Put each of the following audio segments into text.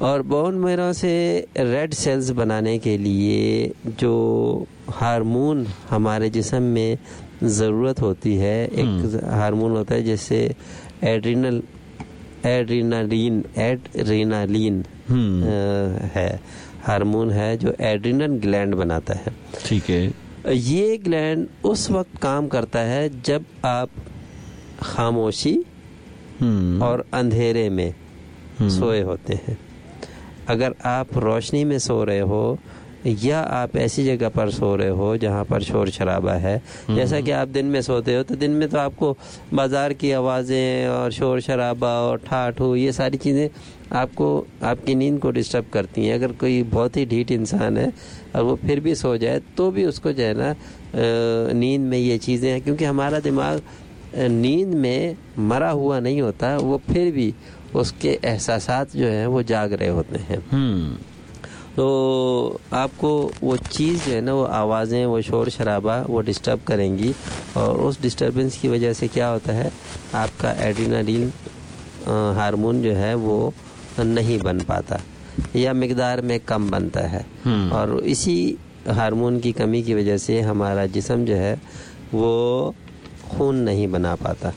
और bone marrow से red cells बनाने के लिए जो हार्मोन हमारे जिस्म में ज़रूरत होती है, एक हार्मोन होता है जैसे एड्रीनल एड्रीनालिन एड्रीनालिन है, हार्मोन है जो एड्रीनल ग्लैंड बनाता है। ठीक है। ये ग्लैंड उस वक्त काम करता है जब आप खामोशी और अंधेरे में सोए होते हैं। अगर आप रोशनी में सो रहे हो या आप ऐसी जगह पर सो रहे हो जहाँ पर शोर शराबा है, जैसा कि आप दिन में सोते हो तो दिन में तो आपको बाज़ार की आवाज़ें और शोर शराबा और ठाठ हो, ये सारी चीज़ें आपको आपकी नींद को डिस्टर्ब करती हैं। अगर कोई बहुत ही ढीठ इंसान है और वो फिर भी सो जाए तो भी उसको जो है ना नींद में ये चीज़ें हैं, क्योंकि हमारा दिमाग नींद में मरा हुआ नहीं होता, वो फिर भी उसके एहसासात जो हैं वो जाग रहे होते हैं। तो आपको वो चीज़ जो है ना, वो आवाज़ें, वो शोर शराबा, वो डिस्टर्ब करेंगी और उस डिस्टर्बेंस की वजह से क्या होता है, आपका एड्रीनालिन हार्मोन जो है वो नहीं बन पाता या मिकदार में कम बनता है। और इसी हार्मोन की कमी की वजह से हमारा जिस्म जो है वो खून नहीं बना पाता।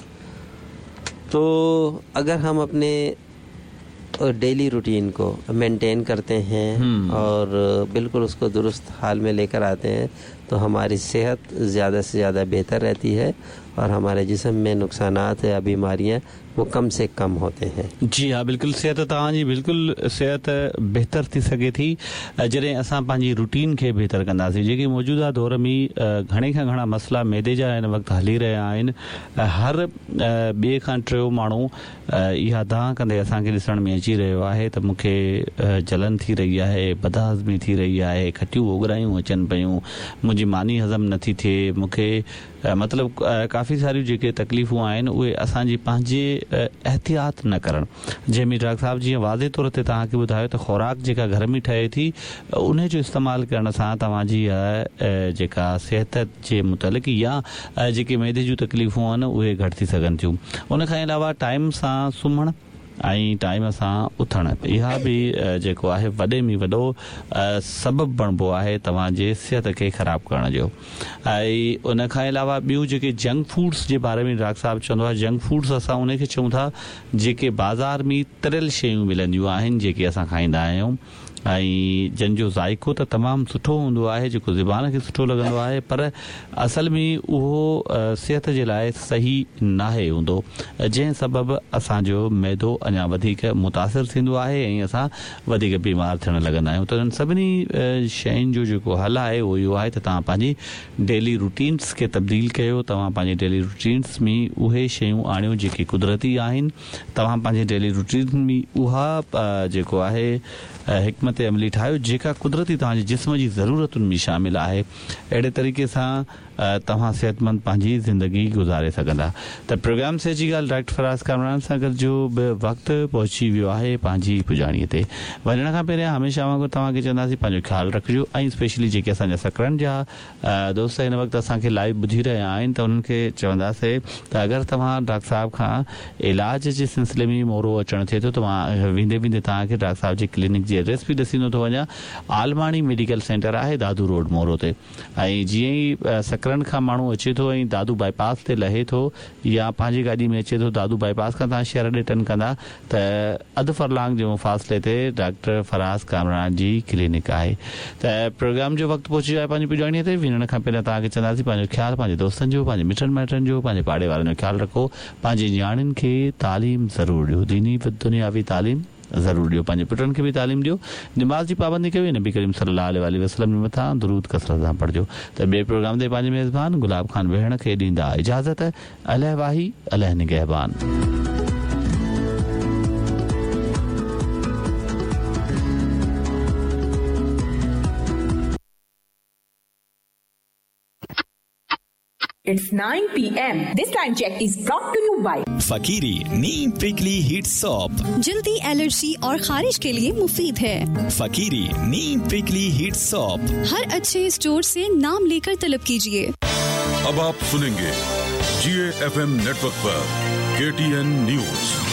तो अगर हम अपने डेली रूटीन को मेंटेन करते हैं और बिल्कुल उसको दुरुस्त हाल में लेकर आते हैं तो हमारी सेहत ज़्यादा से ज़्यादा बेहतर रहती है और हमारे जिस्म में नुकसानात या बीमारियाँ वो कम से कम होते हैं। जी हाँ, बिल्कुल सेहत तव्हांजी बिल्कुल सेहत बहितर थी सघे थी जॾहिं असां पंहिंजी रूटीन खे बहितर कंदासीं। जेके मौजूदा दौर में घणे खां घणा मसइला मैदे जा हिन वक़्तु हली रहिया आहिनि, हर ॿिए खां टियों माण्हू इहा दांह कंदे असांखे ॾिसण में अची रहियो आहे त मूंखे जलन थी रही आहे, बदहाज़मी थी रही आहे, खटियूं ओगरायूं अचनि पयूं, मुंहिंजी मानी हज़म नथी थिए, मूंखे मतिलबु काफ़ी सारियूं जेके तकलीफ़ूं आहिनि उहे असांजी पंहिंजे एहतियात न करणु। जंहिंमें डॉक्टर साहिबु जीअं वाज़े तौर ते तव्हांखे ॿुधायो त ख़ुराक जेका घर में ठहे थी उन जो इस्तेमालु करण सां तव्हांजी जेका सिहत जे मुतालिक़ या जेके मैदे जूं तकलीफ़ूं आहिनि उहे घटि थी सघनि थियूं। उन खां अलावा टाइम सां सुम्हणु ऐं टाइम सां उथणु, इहा बि जेको आहे वॾे में वॾो सबबु बणिबो आहे तव्हांजे सिहत खे ख़राबु करण जो। ऐं उन खां अलावा ॿियूं जेके जंक फूड्स जे बारे में डॉक्टर साहिबु चवंदो आहे, जंक फूड्स असां उनखे चऊं था जेके बाज़ार में तरियल शयूं मिलंदियूं आहिनि जेके असां खाईंदा आहियूं ऐं जन जो ज़ाइक़ो त तमामु सुठो हूंदो आहे, जेको ज़बान खे सुठो लॻंदो आहे, पर असल में उहो सिहत जे लाइ सही नाहे हूंदो, जंहिं सबबु असांजो मैदो अञा वधीक मुतासिर थींदो आहे ऐं असां वधीक बीमार थियण लॻंदा आहियूं। त इन्हनि सभिनी शयुनि जो जेको हल आहे उहो इहो आहे त तव्हां पंहिंजी डेली रूटीन्स खे तब्दील कयो, तव्हां पंहिंजे डेली रूटीन्स में उहे शयूं आणियो जेके कुदरती आहिनि, तव्हां पंहिंजे डेली रूटीन में उहा जेको आहे हिकमत अमली ठाहियो जेका कुदरती तव्हांजे जिस्म जी ज़रूरतुनि में शामिल आहे। अहिड़े तरीक़े सां तव्हां सिहतमंद पंहिंजी ज़िंदगी गुज़ारे सघंदा। त प्रोग्राम से जी ॻाल्हि डॉक्टर फराज़ कामरान सां गॾु जो बि वक़्तु पहुची वियो आहे पंहिंजी पुॼाणीअ ते। वञण खां पहिरियां हमेशह वांगुरु तव्हांखे चवंदासीं पंहिंजो ख़्यालु रखिजो ऐं स्पेशली जेके असांजा सकरनि जा दोस्त हिन वक़्तु असांखे लाइव ॿुधी रहिया आहिनि त उन्हनि खे चवंदासीं त अगरि तव्हां डॉक्टर साहिब खां इलाज जे सिलसिले में मोरो अचणु थिए थो त मां वेंदे वेंदे तव्हांखे डॉक्टर साहिब जे क्लिनिक जी एड्रेस बि ॾसींदो थो वञा। आलमाणी मेडिकल सेंटर आहे दादू रोड मोरो ते ऐं जीअं ई सकरनि खां माण्हू अचे थो ऐं दादू बाईपास ते लहे थो या पंहिंजी गाॾी में अचे थो, दादू बाईपास खां तव्हां शहर ॾे टर्न कंदा त अधु फरलांग जे मुफ़ासिले ते डॉक्टर फराज़ कामरान जी क्लिनिक आहे। त प्रोग्राम जो वक़्तु पहुची वियो आहे पंहिंजी पुॼाणीअ ते। वञण खां पहिरियां तव्हांखे चवंदासीं पंहिंजो ख़्यालु पंहिंजे दोस्तनि जो, पंहिंजे मिटनि माइटनि जो, पंहिंजे पाड़े वारनि जो ख़्यालु रखो, पंहिंजे नियाणियुनि खे तालीम ज़रूरु ॾियो, दीनी दुनियावी तालीम ज़रूरु ॾियो, पंहिंजे पुटनि खे बि तालीम ॾियो, नमाज़ जी पाबंदी कयो, नबी करीम सल्लल्लाहु अलैहि वसल्लम जे मथां दुरूद कसरत सां पढ़िजो। त ॿिए प्रोग्राम ते पंहिंजे मेज़बान गुलाब ख़ान भेण खे ॾींदा इजाज़त। अलह वाही अलह निगहबान। It's 9 p.m. This time check is brought to you by Fakiri Neem Prickly Heat Soap। जल्दी एलर्जी और खारिश के लिए मुफीद है Fakiri Neem Prickly Heat Soap। हर अच्छे स्टोर से नाम लेकर तलब कीजिए। अब आप सुनेंगे GAFM network पर KTN news.